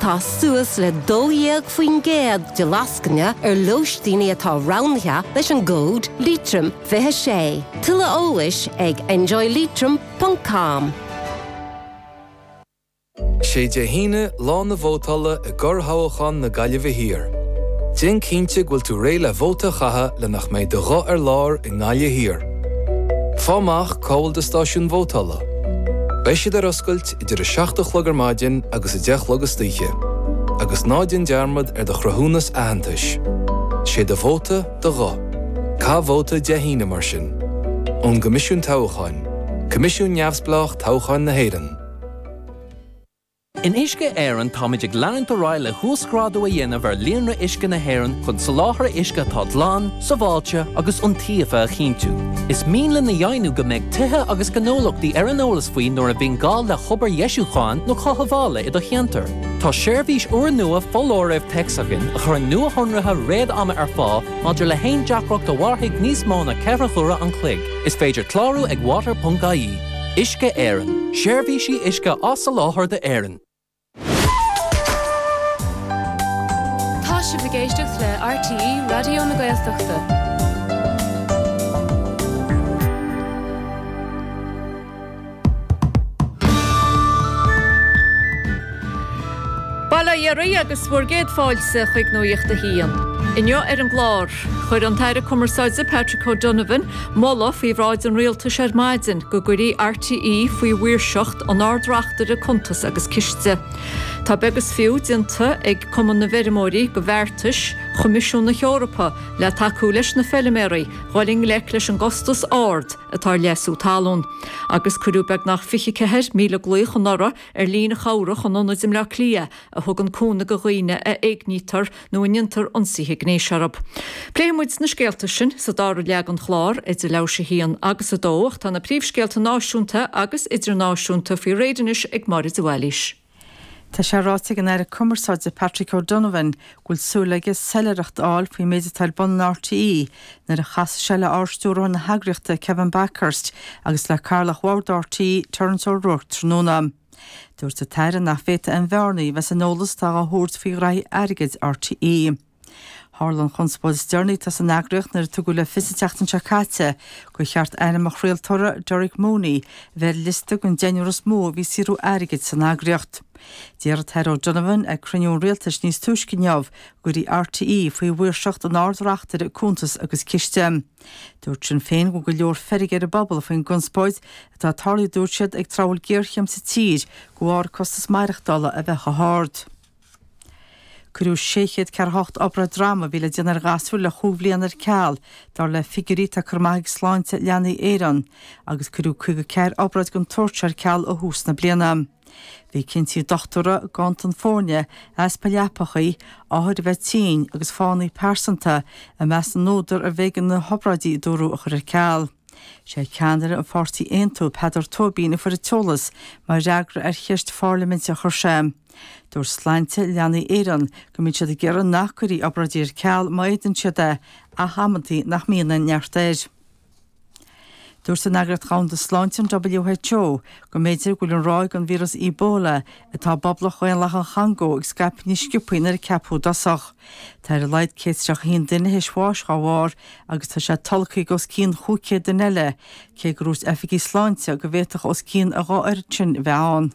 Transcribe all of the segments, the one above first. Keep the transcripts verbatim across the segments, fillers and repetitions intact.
Tá suas le dó dhéag faoin gcéad de lascaine ar lóistíní atá roghnaithe leis an gcód Liatroim fiche sé. Tuilleadh eolais ag enjoyleitrim.com. Sé Dé hAoine lá na vótála i gcorrthoghchán na Gaillimhe Thiar. Déan cinnte go bhfuil tú réidh le vóta a chaitheamh le nach mbeidh do ghuth ar lár i nGaillimh Thiar. Faigh amach cá bhfuil do stáisiún vótála. Beidh siad ar oscailt idir a seacht a chlog ar maidin agus a deich a chlog istoíche, agus ná déan dearmad ar do chruthúnas aitheantais. Sé do vóta do ghuth. Caith vóta Dé hAoine mar sin. Ón gCoimisiún Toghcháin, Coimisiún Neamhspleách Toghcháin na hÉireann. In Uisce Éireann táimid ag leanúint ar aghaidh le huasghrádú a dhéanamh ar líonra uisce na hÉireann chun soláthar uisce atá glan, sábháilte agus iontaofa a chinntiú. Is mian linn a dheimhniú go mbeidh tithe agus gnólachtaí ar an eolas faoi nuair a bhíonn gá le hobair dheisiúcháin nó cothabhála i do cheantar. Tá seirbhís úrnua foláirimh téacs againn a chuireann nuashonruithe réad-ama ar fáil maidir le haon deacracht a mhairfidh níos mó ná ceithre huaire an chloig. Is féidir clárú ag water.ie. Uisce Éireann, seirbhísí uisce á soláthar d'Éirinn. Tá sibh ag éisteacht le RTÉ Raidió na Gaeltachta. Bail ó Dhia oraibh agus bhur gcéad fáilte chuig Nuacht a hAon. Inniu ar an gclár, chuir an tAire Cumarsáide Patrick O'Donovan moladh faoi bhráid an Rialtais ar maidin go gcuirfí RTÉ faoi mhaoirseacht an Ard-Reachtaire Cuntas agus Ciste. Tá beag is fiú déanta ag Cumann na bhFeirmeoirí de bheartais Choimisiún na hEorpa le tacú leis na feilméaraí dhul i ngleic leis an gcostas ard atá ar leasú talún. Agus cuireadh beagnach fiche ceathair míle glaoch anuraidh ar líne chabhrach an Ionaid i mBleá Cliath a thugann cúnamh do dhaoine a éignítear nó a ndéantar ionsaithe gnéis orthu. Pléifidh muid na scéalta sin sa dara leath den chlár idir leathuair théis a haon agus a dó ach tá na príomhscéalta náisiúnta agus idirnáisiúnta faoi réir anois ag Máire de Bhailís. Tá sé ráite ag an Aire Cumarsáide Patrick O'Donovan go bhfuil súil aige soiléireacht a fháil faoin méid atá ar bun in RTÉ nuair a chasfaidh sé le Ardstiúrthóir na heagraíochta Kevin Bakhurst agus le Cathaoirleach Bhord RTÉ Terence O'Rourke tráthnóna. Dúirt an tAire nach bhféadfadh aon bhearnaí a bheith san eolas atá á thabhairt faoi ghraithí airgid RTÉ. Tharla an chonspóid is deireanaí atá san eagraíocht nuair a tugadh le fios an tseachtain seo caite gur cheart ainm an chraoltóra Derek Mooney a bheith ar liosta den deichniúr is mó a bhí ag saothrú airgid san eagraíocht. D'iarr an tAire O'Donovan ag cruinniú an Rialtais níos túisce inniu go gcuirfí RTÉ faoi mhaoirseacht an Ard-Reachtaire Cuntas agus Ciste. Dúirt Sinn Féin go bhfuil go leor feirge ar an bpobal faoin gconspóid atá tarlaithe dúirt siad ag tráth a bhfuil géarchéim sa tír de bharr costas maireachtála a bheith chomh hard. Cuireadh sé chéad ceathracha hocht obráid droma a bhí le déanamh ar ghasúir le chúig bhliana ar ceal, dar le figiúirí atá curtha amach ag Sláinte Leanaí Éireann, agus cuireadh caoga ceathair obráid den tsórt seo ar ceal ó thús na bliana. Bhí cinntí dochtúra, ganntan foirne, easpa leapachaí, othair a bheith tinn agus fáthanna pearsanta i measc na n-údar arbh éigean na hobráidí a dúradh a chur ar ceal. Sé ceannaire an pháirtí Aontú, Peadar Tóibín, a fuair an t-eolas mar fhreagra ar cheist phairliminte a chuir sé. Dúirt Sláinte Leanaí Éireann go mbíonn siad ag iarraidh nach gcuirfí obráidí ar ceal má fhéadann siad é, ach amantaí nach mbíonn aon neart air. Dúirt an Eagraíocht Dhomhanda Sláinte, an WHO, go mb'fhéidir go bhfuil an ráig den víreas Ebola atá i bPoblacht Dhaonlathach an Chongó ag scaipeadh níos sciobthaí ná a ceapadh i dtosach. Tá ar a laghad céad is tríocha a haon duine théis bháis dhá bharr agus tá sé tolgtha ag os cionn chúig chéad duine eile, cé gur dhúirt oifigigh sláinte go bhféadfadh os cionn a dhá oiread sin a bheith ann.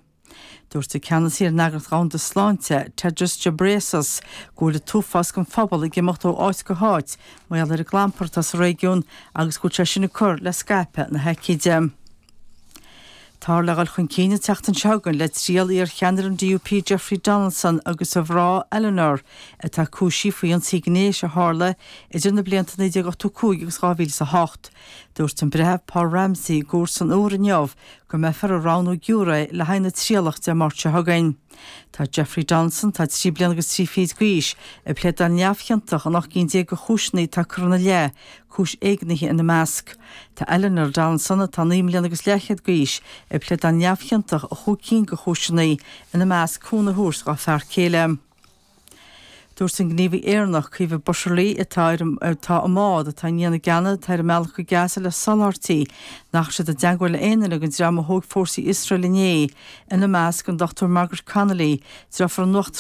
Dúirt an ceannasaí ar an Eagraíocht Dhomhanda Sláinte, Tedros Ghebreyesus, go bhfuil an t-uafás den phobal ag imeacht ó áit go háit mar gheall ar an gclampar atá sa réigiún agus go bhfuil sé sin ag cur le scaipeadh na haicíde. Táthar le dhul chun cinn an tseachtain seo chugainn le triail iar-cheannaire an DUP Jeffrey Donaldson agus a mhná Eleanor atá cúisithe faoi ionsaí gnéis a tharla idir na blianta naoi déag ochtó cúig agus dhá mhíle is a hocht. Dúirt an Breitheamh Paul Ramsey i gcúirt san Iúr inniu go mbeifear ag roghnú giúiré le haghaidh na trialach Dé Máirt seo chugainn. Tá Jeffrey Donaldson, atá trí bliana agus trí fichid d'aois, ag pléadáil neamhchiontach in ocht gcinn déag de chúiseanna atá curtha ina leith, cúis éignithe ina measc. Tá Eleanor Donaldson, atá naoi mbliana agus leathchéad d'aois, ag pléadáil neamhchiontach i chúig cinn de chúiseanna, ina measc cúnamh a thabhairt dá fear céile. Dúirt an gníomhaí Éireannach, Caoimhe Butterly, atá ar atá i mbád atá i ndiaidh na gceanna atá ar a mbealach go Gaza le soláthairtí, nach raibh siad i dteagmháil le aon duine den dream a thóg fórsaí Iosrael inné, ina measc an Dr Margaret Connolly, deirfiúr an Uachtaráin,